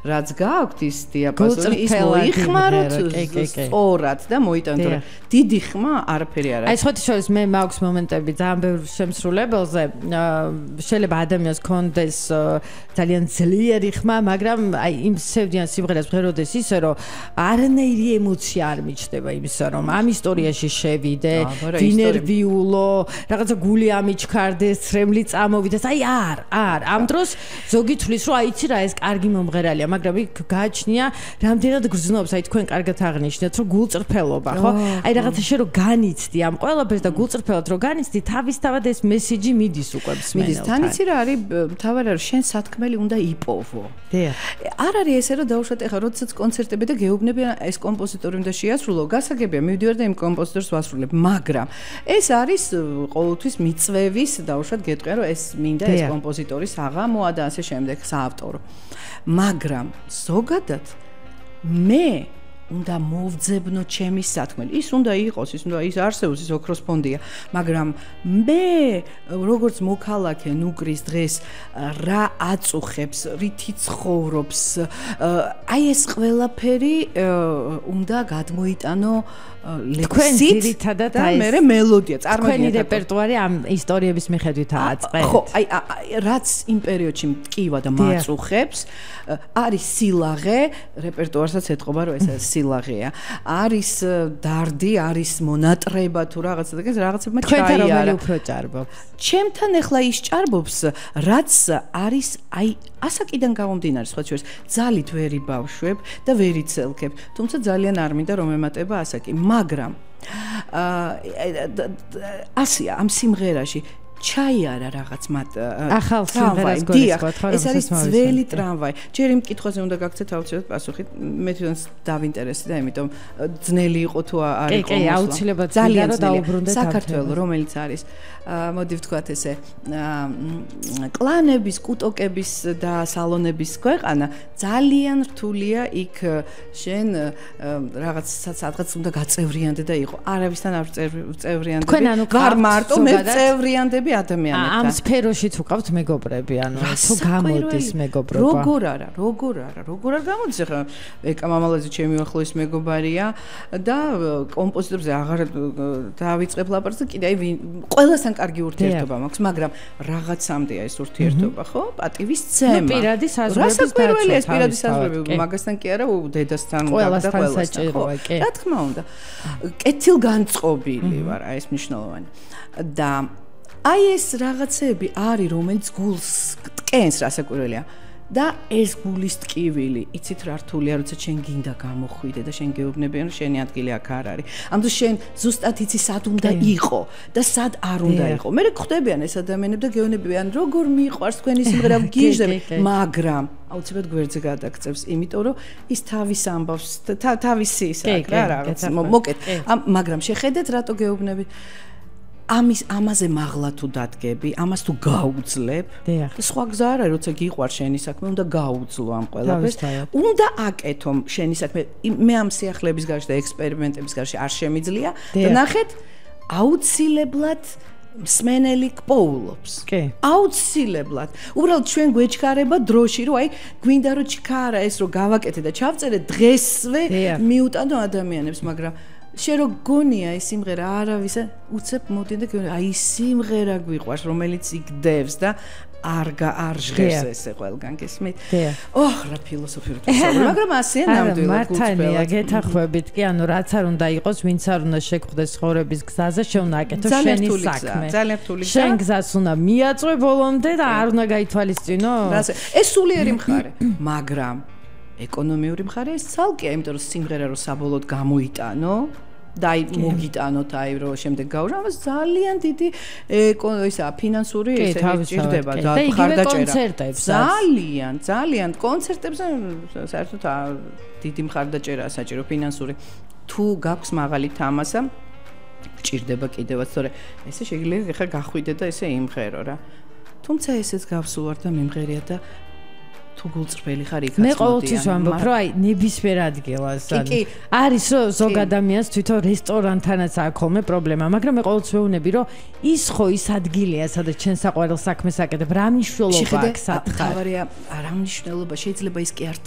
რაც გაქვთ ის დიაპაზონი ის მოიხმაროთ სწორად და მოიტანოთ რომ დიდი ხმა არაფერი არ არის. აი სხვათა შორის მე მაქვს მომენტები ძალიან ბევრ შემსრულებელზე შეიძლება ადამიანს კონდეს ძალიან ძლიერი ხმა, მაგრამ აი იმ სევდიან სიმღერას ღეროდეს ისე რომ არანაირი ემოცია არ მიჩნდება იმისა რომ ამ ისტორიაში შევიდე, ვინერვიულო, რაღაცა გული ამიჩქარდეს, ცრემლი წამოვიდეს. აი არ ამ დროს ზოგი თვლის რომ აიცი რა ეს კარგი მომღერალია, მაგრამ იქ გააჩნია რამდენად გრძნობს, აი თქვენ კარგად აღნიშნეთ რომ გულწრფელობა, ხო? აი რაღაცა შე რომ განიცდი ამ ყველაფერს და გულწრფელად რომ განიცდი, თავისთავად ეს მესიჯი მიდის უკვე მსმენელთან. თან იცი რა არის თავი რა შენ სათქმელი უნდა იპოვო. არ არის ესე რომ დაუშვათ ეხლა როდესაც კონცერტები და გეუბნები ეს კომპოზიტორი უნდა შეასრულო, გასაგებია მივდივარ და იმ კომპოზიტორს ვასრულებ, მაგრამ ეს არის ყოველთვის მიწვევის დაუშვათ გეტყვია რომ ეს მინდა ეს კომპოზიტორის აღამოა და ასე შემდეგ საავტორო. მაგრამ ზოგადად მე უნდა მოვძებნო ჩემი სათქმელი. ის უნდა იყოს, ის არსებობს, ის ოქროს ფონდია, მაგრამ მე როგორც მოქალაქე ნუკრის დღეს რა აწუხებს, რითი ცხოვრობს, აი ეს ყველაფერი უნდა გადმოიტანო ლექსით და მე მელოდია წარმოიდგინე. თქვენი რეპერტუარი ამ ისტორიების მიხედვით აწყეთ. ხო, აი რაც იმ პერიოდში მტკივა და მაწუხებს, არის სილაღე, რეპერტუარსაც ეთყობა რომ ეს სილაღეა. არის დარდი, არის მონატრება თუ რაღაცა და რაღაცებმა ჩაიარა. თქვენ რომელი უფრო ჭარბობს? ჩემთან ახლა ის ჭარბობს, რაც არის აი ასაკიდან გამომდინარე, სხვა შორის ძალით ვერი ბავშვებ და ვერი ცელქებ. თუმცა ძალიან არ მინდა რომ ემატება ასაკი, მაგრამ ასია ამ სიმღერაში ჩაიარა რაღაც მათ ახალ სიმღერას გულისხმობთ ხო? ეს არის ძველი ტრამვაი. ჯერ იმ კითხვაზე უნდა გაგცეთ აუცილებლად პასუხი. მე თვითონ დავინტერესდი და ამიტომ ძნელი იყო თუ არ იყო. კი, აუცილებლად ძალიან დაუბრუნდეთ საქართველოს, რომელიც არის მოდი ვთქვათ ესე კლანების, კუტოკების და სალონების ქვეყანა ძალიან რთულია იქ შენ რაღაც უნდა გაწევრიანდე და იყო. არავისთან არ წევრიანდები. ვარ მარტო მე წევრიანდები ადამიანებთან. ამ სფეროშიც უკავთ მეგობრები, ანუ თუ გამოდის მეგობრობა. როგორ არ გამოდის ახლა ეკა მამალაძე ჩემი ახლოს მეგობარია და კომპოზიტორზე აღარ დავიწყებ ლაპარაკს და კიდე აი ყველასთან კარგი ურთიერთობა მაქვს, მაგრამ რაღაცამდეა ეს ურთიერთობა, ხო? პატივის ცემა. პირადი საზღვრების დაცვა. ეს პირადი საზღვრები, მაგასთან კი არა, დედასთან და ყველასთან საჭიროა, კი. რა თქმა უნდა. კეთილგანწყობილი ვარ, აი ეს მნიშვნელოვანი. და აი ეს რაღაცები არის, რომელიც გულს ტკენს, რასაკვირველია. და ეს გულის ტკივილი, იცით რა რთულია, როცა შენ გინდა გამოხვიდე და შენ გეუბნებიან, რომ შენი ადგილი აქ არ არის. ამიტომ შენ ზუსტად იცი სად უნდა იყო და სად არ უნდა იყო. მე ხვდებიან ეს ადამიანები და გეუბნებიან, როგორ მიყვარს თქვენი სიმღერა, გიჟდები, მაგრამ აუცილებლად გვერდზე გადაგწევს, იმიტომ რომ ის თავის ამბავს, თავისი ის აქ რა რაღაც მოკეთ. მაგრამ შეხედეთ რატო გეუბნები. ამაზე მაღლა თუ დადგები, ამას თუ გაუძლებ, სხვა გზა არ არის, როცა გიყვარ შენი საქმე, უნდა გაუძლო ამ ყველაფერს. უნდა აკეთო შენი საქმე. მე ამ სიახლეების გარშე და ექსპერიმენტების გარშე არ შემიძლია და ნახეთ, აუცილებლად მსმენელი გპოულობს. აუცილებლად. უბრალოდ ჩვენ გვეჩქარება დროში, რომ აი გვინდა რომ ჩქარა ეს რომ გავაკეთე და ჩავწერე დღესვე მიუტანო ადამიანებს, მაგრამ შე რო გონია ეს სიმღერა არავის უცებ მოდი და აი სიმღერა გვიყვარს რომელიც იგდევს და არ ჟღერს ესე ყველგან გესმით. ოჰ რა ფილოსოფიური თვალსაზრისით, მაგრამ ასეა ნამდვილად გულწრფელად. გეთანხმებით კი, ანუ რაც არ უნდა იყოს, ვინც არ უნდა შეგხვდეს ცხოვრების გზაზე, შენ უნდა აკეთო შენი საქმე. ძალიან რთული გზა. შენ გზას უნდა მიაწვე ბოლომდე და არ უნდა გაითვალისწინო. ეს სულიერი მხარე, მაგრამ ეკონომიური მხარე ეს ცალკეა, იმიტომ რომ სიმღერა რო საბოლოოდ გამოიტანო და აი მოგიტანოთ აი რომ შემდეგ გაუჟო, ამას ძალიან დიდი ისა ფინანსური ესე ჭირდება და მხარდაჭერა. ძალიან კონცერტებზე საერთოდ დიდი მხარდაჭერაა საჭირო ფინანსური. თუ გაქვს მაღალი თამასა ჭირდება კიდევაც, თორე ესე შეიძლება ხა გახვიდე და ესე იმღერო რა. თუმცა ესეც გავსულ ვარ და მიმღერია და თუ გულწრფელი ხარ იქაც მე ყოველთვის ვამბობ, რომ აი ნებისმიერ ადგილას არის რომ ზოგ ადამიანს თვითონ რესტორანთანაც აქვს ხოლმე პრობლემა, მაგრამ მე ყოველთვის ვეუბნები, რომ ის ხო ის ადგილია, სადაც ჩვენ საყვარელ საქმეს აკეთებ, რა მნიშვნელობა აქვს სათხარ. თავარია რა მნიშვნელობა, შეიძლება ის კი არ